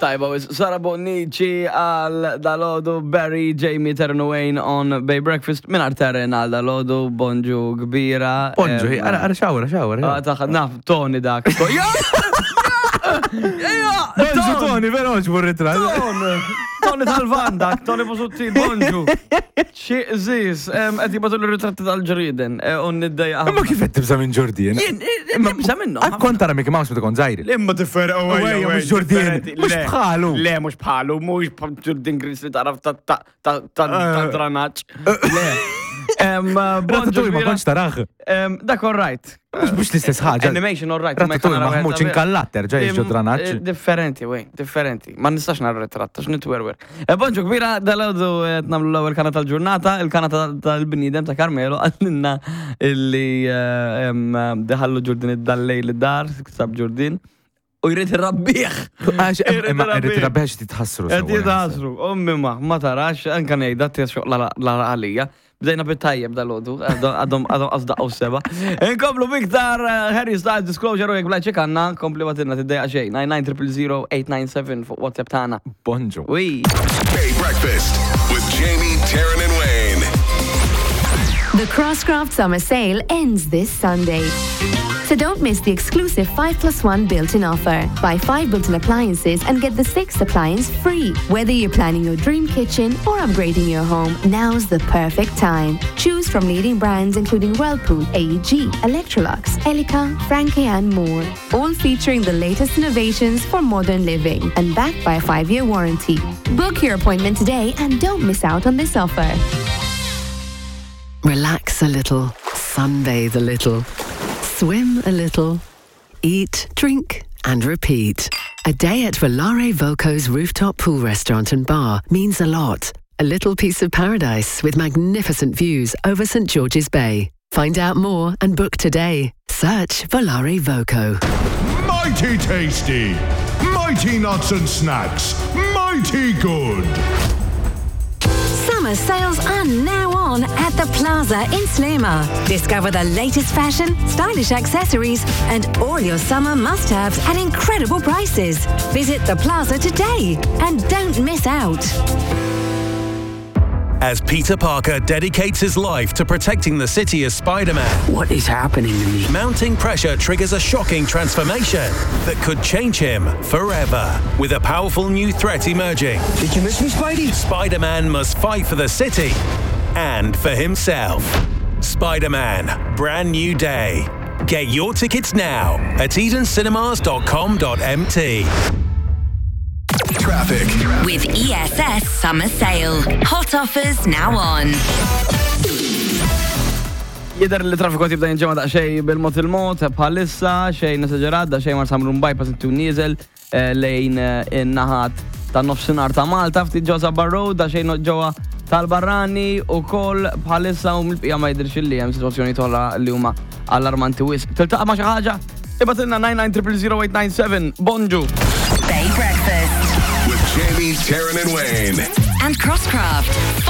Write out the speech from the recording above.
Tajba, wis Sara Bonnici għal dalodu, Barry, Jamie Ternuane on Bay Breakfast, minn Terren għal dalodu, bonġu kbira. Bonġu, ara, ara, xawra, xawra. Ah, taħ, naf, Tony dak. Ja! Ja! Bonġu, Tony, vera oġbu r-ritrat. Ton! Tony tal-van dak, Tony Busuttil, bonġu. Xi żis, qed jibgħatu l-ritratti tal-ġrieden, eh, u niddejja. Imma kif qed tibża' minn ġurdien? Jien, eh, nibża' minnhom. Għad kont tara Mickey Mouse meta kont żgħir. Imma differ, oh, ejja, mhux ġurdien, mhux bħalu. Le, mhux bħalu, mhux bħal ġurdien gris li taraf ta' ta' ta' ta' ta' Eh. dranaġġ. Le. Bonġu Ratatouille ma kbira. kontx tarah. Dak all right. Mhux mhux l-istess ħaġa. Animation all right. imma jekk Ratatouille nara wieħed maħmuġ sabiħ. inkallat terġa' jiġu dranaġġ. Differenti, wej, differenti. Ma nistax nara ritratt, għax nitwerwer. E bonġu kbira, dal-għodu qed nagħmlu l-ewwel kana tal-ġurnata, il-kana tal-bniedem ta' Carmelo għallinna illi eh, deħallu ġurdin id-dallej li dar, sab ġurdin, u jrid irrabbih. Għax Irrid imma irrid irrabbih. irrabbih għax titħassru. Qed sewwa, jitħassru, ommi ma, ma tarax, anka ngħidha tisxoq l għalija. Bdejna bit-tajjeb dal-għodu, għadhom għadhom għasdaqqu seba. Inkomplu biktar eh, Harry Styles Disclosure u jekk blajċek għanna, kompli għatilna tiddejqa xejn. 99 fuq WhatsApp tagħna. Bonġu. Ui. Bay Breakfast with Jamie, Taryn, and Wayne. The Crosscraft Summer Sale ends this Sunday. So don't miss the exclusive 5 plus 1 built-in offer. Buy 5 built-in appliances and get the 6th appliance free. Whether you're planning your dream kitchen or upgrading your home, now's the perfect time. Choose from leading brands including Whirlpool, AEG, Electrolux, Elica, Franke and more. All featuring the latest innovations for modern living and backed by a 5-year warranty. Book your appointment today and don't miss out on this offer. Relax a little, sunbathe a little, swim a little, eat, drink, and repeat. A day at Volare Voco's rooftop pool restaurant and bar means a lot. A little piece of paradise with magnificent views over St George's Bay. Find out more and book today. Search Volare Voco. Mighty tasty! Mighty nuts and snacks! Mighty good! Summer sales are now on at the Plaza in Sliema. Discover the latest fashion, stylish accessories, and all your summer must-haves at incredible prices. Visit the Plaza today and don't miss out. As Peter Parker dedicates his life to protecting the city as Spider-Man. What is happening to me? Mounting pressure triggers a shocking transformation that could change him forever. With a powerful new threat emerging. Did you miss me, Spidey? Spider-Man must fight for the city and for himself. Spider-Man, brand new day. Get your tickets now at edencinemas.com.mt. Traffic. With ESS Summer Sale. Hot offers now on. Jider li traffiku tibda jinġema daqsxejn bil-mod il-mod, bħalissa, xejn esaġerat, daqsxejn mar samrun bypass intu nieżel eh, lejn eh, in-naħat ta' nofsinhar ta' Malta, ftit ġewwa Sabbar Road, daqsxejn ġewwa tal-Barrani u koll bħalissa u mill-bqija ma jidirx li hemm sitwazzjoni tolla li huma allarmanti wisq. Tiltaqa' ma' xi ħaġa? Ibatilna 99 Bonġu. Bay Breakfast With Jamie, Taryn, and Wayne. and Crosscraft.